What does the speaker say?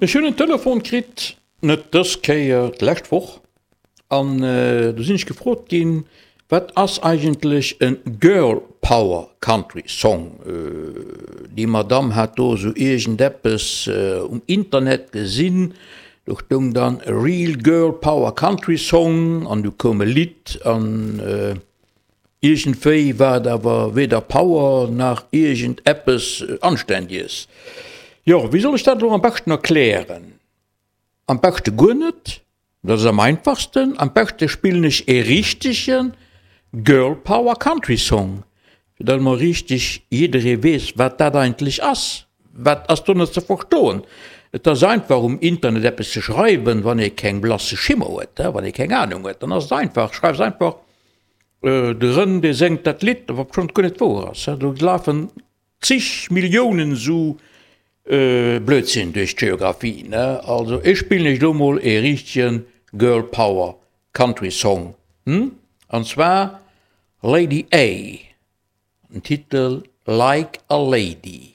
Ech hunn en Telefon kritt, net dës Kéier, d'lescht Woch, an do sinn ech gefrot ginn, wat ass eigentlech e Girl Power Country Song? Déi Madamm hat do esou iergendeppes um Internet gesinn, do stoung dann Real Girl Power Country Song an du koum e Lidd an Iergendwéi war et awer weder Power nach iergend eppes Anständiges. Jo, wéi soll ech dat elo am beschten erklären? Am beschte guer net, dat ass am einfachsten. Am beschte spillen ech ee richtege Girl Power Country Song, fir datt emol richteg jidderee weess, wat dat eigentlech ass. Wat ass do net ze verstoen? Et ass einfach um Internet eppes ze schreiwen, wann ee keng blasse Schimmer huet, wann ee keng Anung huet, dann ass et einfach, schreifs einfach De Rënn dee séngt dat Lidd, obschonn et guer net wouer ass. Do lafen zig Milliounen esou Blödsinn duerch d'Geographie. Also ech spillen iech elo mol ee richtege Girl Power Country Song, an zwar Lady A, den Titel Like a Lady.